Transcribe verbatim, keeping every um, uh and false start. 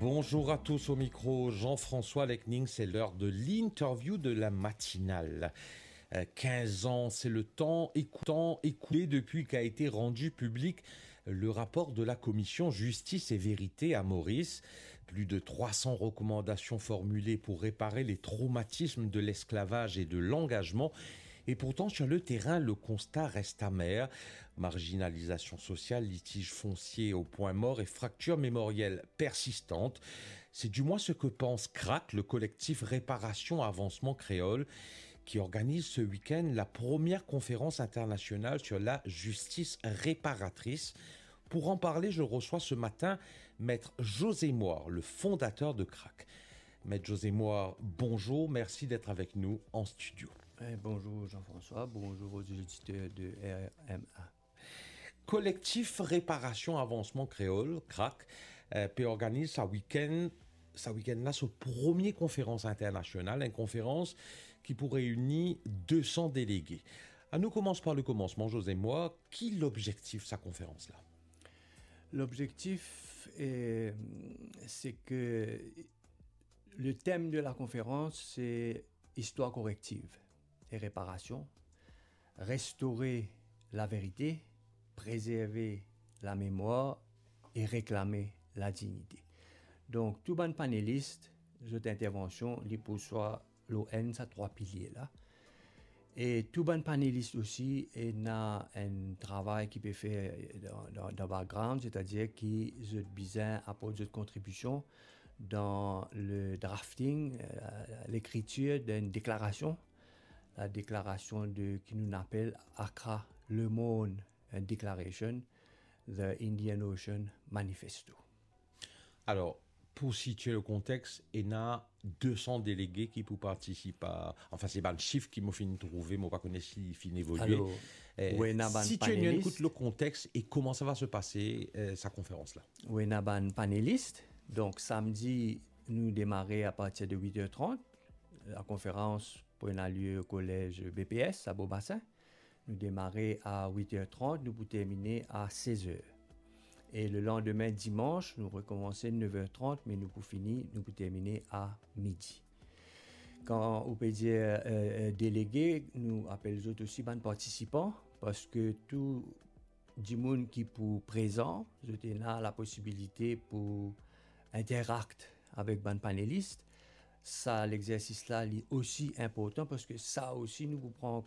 Bonjour à tous, au micro Jean-François Lecning, c'est l'heure de l'interview de la matinale. Euh, quinze ans, c'est le temps écou-, temps écoulé depuis qu'a été rendu public le rapport de la commission Justice et Vérité à Maurice. Plus de trois cents recommandations formulées pour réparer les traumatismes de l'esclavage et de l'engagement. Et pourtant, sur le terrain, le constat reste amer. Marginalisation sociale, litige foncier au point mort et fracture mémorielle persistante. C'est du moins ce que pense crack, le collectif Réparation Avancement Créole, qui organise ce week-end la première conférence internationale sur la justice réparatrice. Pour en parler, je reçois ce matin Maître José Moir, le fondateur de crack. Maître José Moir, bonjour, merci d'être avec nous en studio. Eh, bonjour Jean-François, bonjour aux auditeurs de R M A. Collectif Réparation Avancement Créole, crack, euh, pe organiz sa week-end, sa week-end la, so premie konferans internasional, enn konferans ki pou reyni de san delege. Anou koumans par le komansman, José Moir, ki lobzektif sa konferans la? Lobzektif, eh, se ke le tem de la konferans, se istwar korektiv e reparasion, restore laverite, prezerve lamemwar e reklame ladignite. Donk, tou bann panelis, zot intervansion, li pou swa lor enn sa trwa pilie la. E tou bann panelis osi, ena enn travay ki pe fer dan, dan, dan background, setadir ki zot bizin aport zot kontribision dan le drafting, eh, lekritir d'enn deklarasion, la deklarasion de, ki nou apel Accra Le Morne Declaration, The Indian Ocean Manifesto. Alor, pou sitie le kontex, ena de san delege ki pou partisip a, anfin, se bann sif ki mo finn trouve, mo pa kone si li finn evolie. Alor, eh, ou ena bann si ti ena enn panelis. Kout le kontex e kouma sa va se pase, eh, sa konferans la? Ou ena bann panelis. Donk, samdi, nou demare apartir de wit er trant. La konferans pou ena lie kolez B P S a Beau Bassin. Nou demare a wit er trant, nou pou termine a sez er. E le landime, dimans, nou rekomanse nef er trant, me nou pou fini, nou pou termine a midi. Kan ou pe dir, eh, eh, delege, nou apel zot osi bann partisipan, parski tou dimoun ki pou prezan, zot ena laposibilite pou interakt avek bann panelis. Sa lexersis la, li osi inportan, parski sa osi nou pou pran